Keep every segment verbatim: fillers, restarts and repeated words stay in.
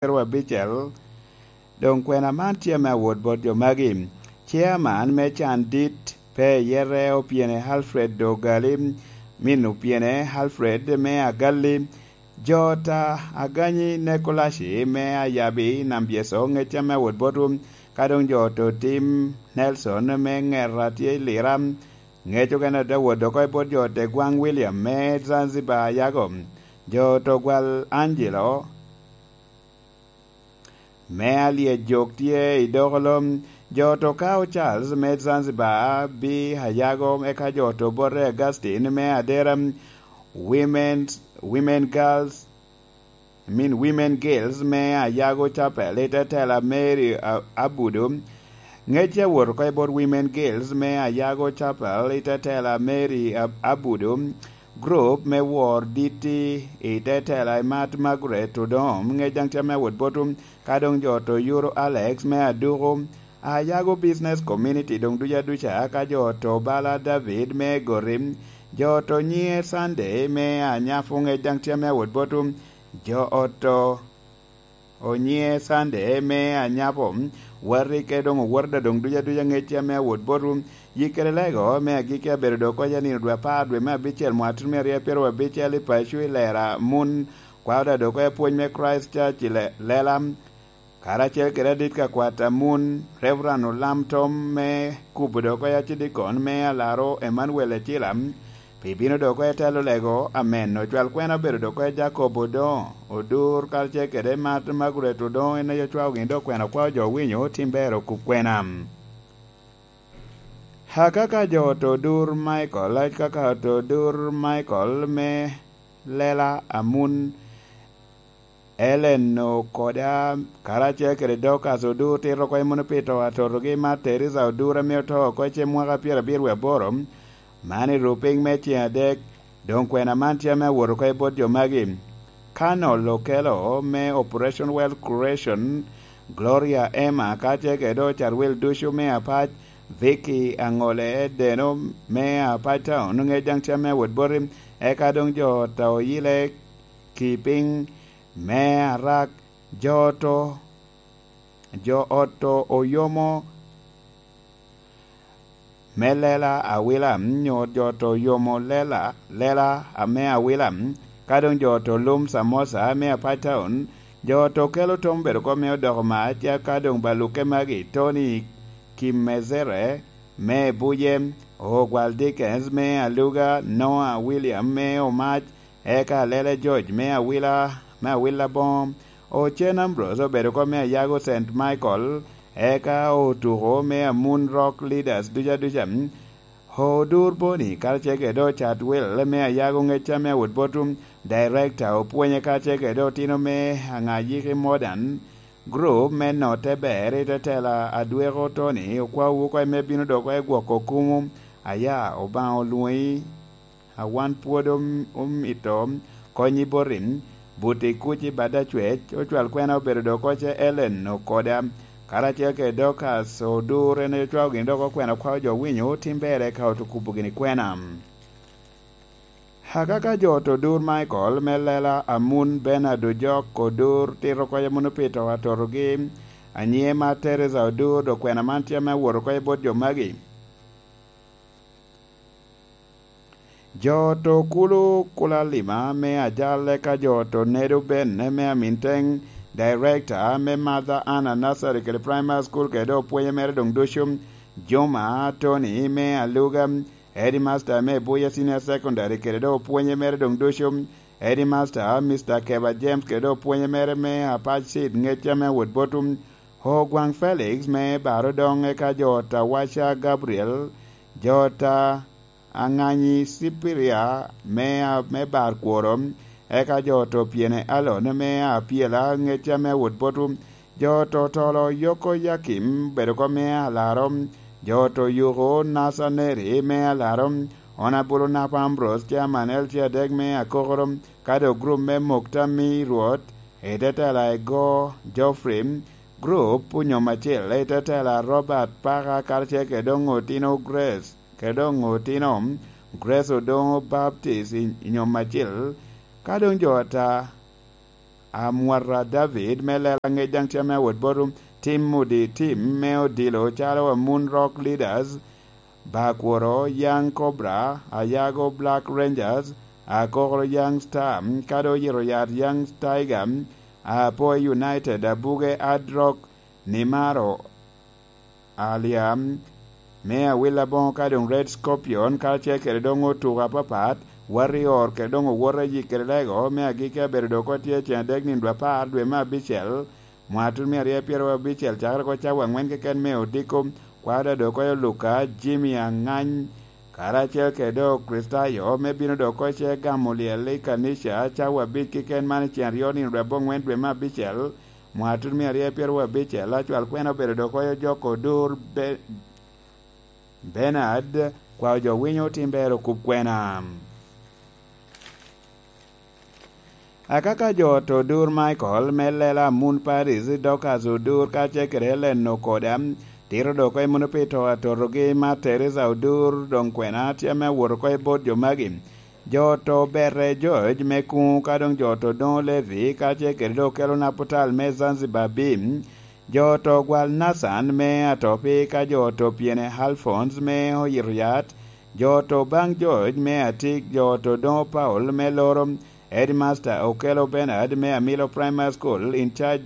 pyeraryo abicel. Doŋ kwena man tye ame awot bot jo magi. Chairman me can dit pe iyete, Opyene Alfred Dogali, min Opyene Alfred me Agalli, jo ta Aganyi Nekolaci me Ayabi Nambyeso, ŋec ame awot botwu, ka doŋ jo to Tim Nelson me Ŋeta tye i Lira, ŋec okene te wot oko i bot jo te Gwaŋ William me Zanzibar Ayago, jo to Gwal Angelo me Alyejok tye i Dokolo, jo to Kao Charles me Zanzibar bi Ayago, eka jo to Bote Augustine me Adera, Women's, Women Girls, I mean, Women Girls me Ayago Chapel i te tela Mary A-, Abudu. Ŋec awot oko i bot Women Girls me Ayago Chapel i te tela Mary Ab-, Abudu. Group me Wor Ditti i te tela i Mat Margaret Odom, ŋec daŋ tye ame awot botwu, ka doŋ jo to Yuro Alex me Aduku. Ayago Business Community doŋ duca duca, ka jo to Bala David me Gori, jo to Nyiŋe Sunday me Anyapu, ŋec daŋ tye ame awot botwu, jo oto Onyiŋe Sunday me Anyapo, wati ke doŋ owot da doŋ duca duca, ŋec tye ame awot botwu. Yik kede lego me agikki abedo dok oko i nino dwe apar, dwe me abicel, mwaka tutumia aryo pyeraryo abicel, i paco i Lera, Mun, kwao da dok oko i pwony me Christ Church i Le-, Lela, karacel kede adit ka kwat a Mun, Reverend Olam Tom me Kubo dok oko i Acidikon me Alaro, Emmanuel Ecila, pi bino dok oko i telo lego, amen. Ocwal kwena obedo dok oko i Jacob Odongo, Odur, karacel kede Mat Margaret Odongo, en aye ocwao gin dok kwena okwao jo owinyo, tim ber okub kwena. Akaka jo to Odur Michael, akaka to Odur Michael me Lela Amun, Ellen Okoda, karacel kede Dorcas Odur, tito oko i Muno Pito, atotogi Mat Teresa Odur, ame oto oko i cem mwaka pyerabiro wie aboro, man i rupiny me ceng adek. Doŋ kwena man tye ame awot oko i bot jo magi. Colonel Okello me Operation Wealth Creation, Gloria Emma, karacel kede Ocat Wil ducu me Apac, Vicky Aŋole Deno me Apac Town, ŋec daŋ tye ame awot boti, eka doŋ jo ta oyile ki piny me Arak, jo to, jo ot to oyomo me Lela Awila, nyo jo to oyomo Lela, Lela ame Awila, ka doŋ jo to lum Samosa me Apac Town, jo to kelo tom bedo kom me odoko mac, ka doŋ ba lukke magi, Tony Kimezere me Buje, Ogwal Dickens me Aluga, Noah William me Omac, eka Lele George me Awila, me Awila Boŋo, Ocen Ambrose obedo oko me Ayago Saint Michael, eka Otuko me Amun Rock Leaders duca duca, Odur Boni, karacel kede Ocat Wil me Ayago ŋec ame awot botwu, Director Opwonye, karacel kede otino me Aŋayiki Modern Group me Note Ber i tetela Adweko Tony, okwawu oko i me bino dok oko i gwoko kumu, aya, Obaŋa olwoŋi. A wan pwod om-, omito konyi boti, buti kuc i bad acwec, ocwal kwena obedo dok oko ce Ellen Okoda, karacel kede Dorcas Odur, en aye ocwao gin dok okwena kwao jo winyo, tim ber eka otukubo gini kwena. Akaka jo to Odur Michael me Lela Amun, Bernard Ojok Odur, tito oko i Muno Pito atotogi, anyiŋe Mat Teresa Odur, dok kwena man tye ame awot oko i bot jo magi. Jo to Kulu Kulalima me Ajal, eka jo to Nedo Ben me Aminteng, Director me Mother Anna Nursery kede Primary School kede opwonye mere doŋ ducu, Juma Tony me Aluga, Headmaster me Buya Senior Secondary kede doŋ opwonye mere doŋ ducu, Headmaster Mister Keba James kede doŋ opwonye mere me Apac Seed ŋec ame awot botwu, Ogwaŋ Felix me Barodoŋ, eka jo Tawaca Gabriel, jo ta Aŋanyi Cipiria me, me Bar Kworo, eka jo to Pyene Alon me Apyela ŋec ame awot botwu, jo to Tolo Yoko Yakim bedo oko me Alaro, jo to Yuko Nacaneri me Alaro, Honourable Napa Ambrose, Chairman L C adek me Akokoro, ka doŋ gurup me Mukta mi Rwot, i tetela Ego Geoffrey, gurup Onyom Acil, i tetela Robert Paka, karacel kede doŋ otino Grace, kede doŋ otino Grace Odongo Baptist i, i Nyom Acil, ka doŋ jo ata Amwata David me lela ŋec daŋ tye ame awot bot Tim Mudi, Tim me odilo calo Amun Rock Leaders, Bakworo Young Cobra, Ayago Black Rangers, Akokoro Young Star, kadi Oyito Yat Young Tiger, Apoy United, Abuge Hard Rock, Nimaro Alia, me Awil Aboŋo ka doŋ Red Scorpion, karacel kede doŋ otuko apapat, Warrior kede doŋ owoto ayik kede Lego, me agikki abedo dok otye cen adek nino dwe apar dwe me abicel, mwatun mia aryo pyeraryo abicel, cakere oko cawa aŋwen keken me odiko, kwada dok oyo Luka, Jimmy Angany, karacel kede doŋ Kristayo, me bino dok oko ce gamo lyel i kanica, cawa abic keken man i cen aryo nino dwe aboŋwen dwe me abicel, mwatun mia aryo pyeraryo abicel, acwal kwena obedo dok oyo Joko Odur Be-, Bernard, kwao jo winyo tim ber okub kwena. Akaka jo oto Odur Michael, me lela Amun Paris, Dorcas Odur, kacel kede Helen Okoda, tito dok oko i muno pi to atotogi ma Teresa Odur, doŋ kwena tye ame awot oko i bot jo magi. Jo oto Bete George me Kuŋo, ka doŋ jo oto Doŋo Levi, kacel kede doŋ okelo Naputal me Zanzibar Bim, jo oto Gwal Nathan me Atopi, ka jo oto Pyene Alphonse me Oyito Yat, jo oto Baŋ George me Atik, jo oto Doŋo Paul me Loro, Headmaster Okello Bernard me Amilo Primary School, in charge,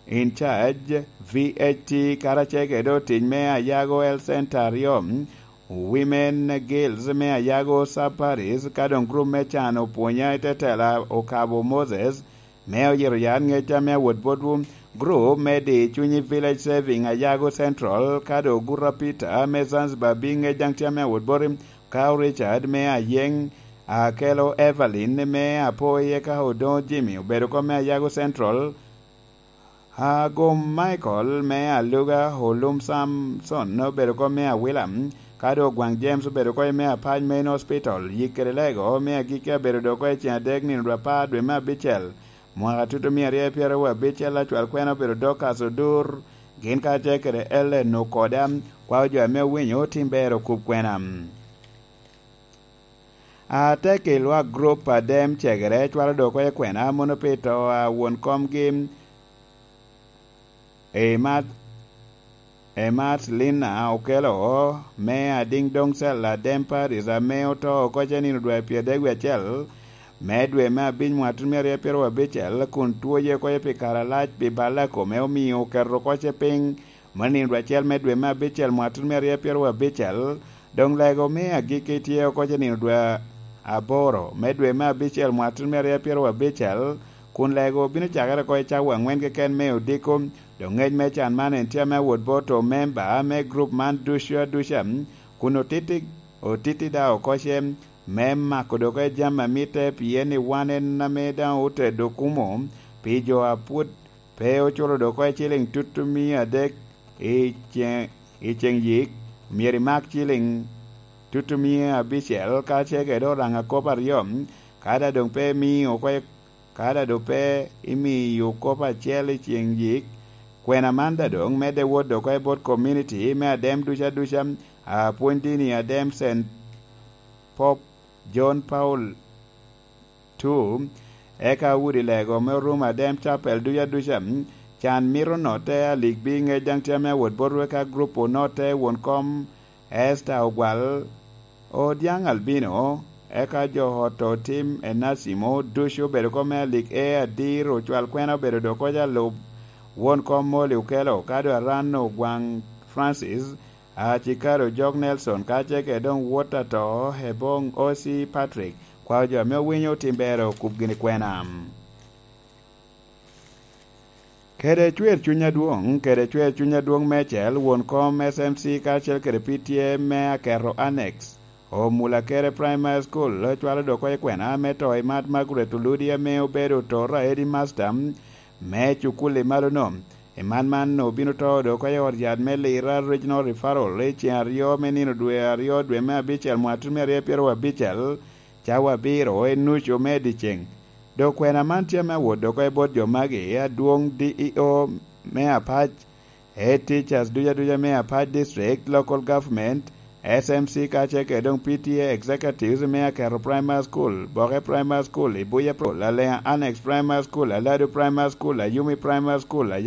in charge V H T, karacel kede otic me Ayago Health Center aryo, Women Guilds me Ayago Sub Parish, ka doŋ group me can opwonya i tetela Okabo Moses, me Oyito Yat Ŋec ame awot botwu, group me di cunyi Village Saving Ayago Central, ka doŋ Gura Peter me Zanzibar Big Ŋec daŋ tye ame awot boti, ka Richard me Ayeŋ, Akelo Evelyn me Apoye, ka Odoŋo Jimmy obedo kom me Ayago Central, Agum Michael me Aluga, Olum Samson obedo kom me Awila, ka doŋ Ogwaŋ James obedo kom me Apac Main Hospital, yik kede lego me agikki abedo dok oko i cen adek nino dwe apar dwe me abicel, mwaka tutu mia aryo pyeraryo abicel, acwal kwena obedo Dorcas Odur, gin kacel kede Ellen Okoda, kwao jo ame owinyo tim ber okub kwena. Atek i lwak grup a dem cegere cwalo dok oko i kwena mono pi to a won komgi, Emat, Emat Lina Okelo, me Adiŋ Doŋcel Adem Paris, ame oto oko ce nino dwe pyeradek wie acel me dwe me abic mwaka tutumia aryo pyeraryo abicel, kun twoye oko pi kare alac pi balla kome, omio oketo oko ce piny me nino dwe acel me dwe me abicel mwaka tutumia aryo pyeraryo abicel, doŋ lego me agikki tye oko ce nino dwe aboro me dwe me abicel mwaka tutumia aryo pyeraryo abicel, kun lego bino cakere oko i cawa aŋwen keken me odiko. Doŋ ŋec me can man en tye ame awot bot omemba me grup man ducu aduca, kun otiti, otiti daŋ oko ce me mako dok oko jami a mitte, pien i wan en ame daŋ otedo kumo pi jo a pwod pe oculo dok oko ciliŋ tutumia adek i ceŋ, i ceŋ yik, myero imak ciliŋ tutumia abicel, ka ce kede oraŋa kop aryo, ka daŋ doŋ pe imio oko, ka daŋ doŋ pe imio kop acel i ceŋ yik, kwena man daŋ doŋ medde wot dok oko bot komuniti me adem ducu aduca, apwony dini adem Saint Pope John Paul two, eka udi lego me orumo adem capel ducu aduca. Can mito notte, alikbi ŋec daŋ tye ame awot bot wek a grup onotte, won kom Esther Ogwal, Odiaŋ Albino, eka jo ot Otim Enacimo, ducu obedo kom me alik e adir, ocwal kwena obedo dok oko alub, won kom Molly Okello, ka doŋ Aran Ogwaŋ Francis, Acikaro Jok Nelson, ka ce kede doŋ wot ato, Ebong O C Patrick, kwao jo ame owinyo tim ber okub gini kwena. Kede cwer cuny adwoŋ, kede cwer cuny adwoŋ mecel, won kom S M C karacel kede P T A me Aketo Annex, Omula Kere Primary School, cwalo dok oko i kwena me to i Mat Margaret Oludi ame obedo otora headmaster me cukul i malo-no. I man man obino to dok oko i ot yat me Lira Regional Referral i ceŋ aryo me nino dwe aryo dwe me abicel mwaka tutumia aryo pyeraryo abicel, cawa abiro i nucu me dyeceŋ. Dok kwena man tye ame awot dok oko i bot jo magi, adwoŋ D E O me Apac, head teachers ducu aduca me Apac District, local government, S M C kacel kede doŋ P T A executives me Aketo Primary School, Boke Primary School, Ibuya Primary School, Alea Annex Primary School, Aladu Primary School, Ayumi Primary School,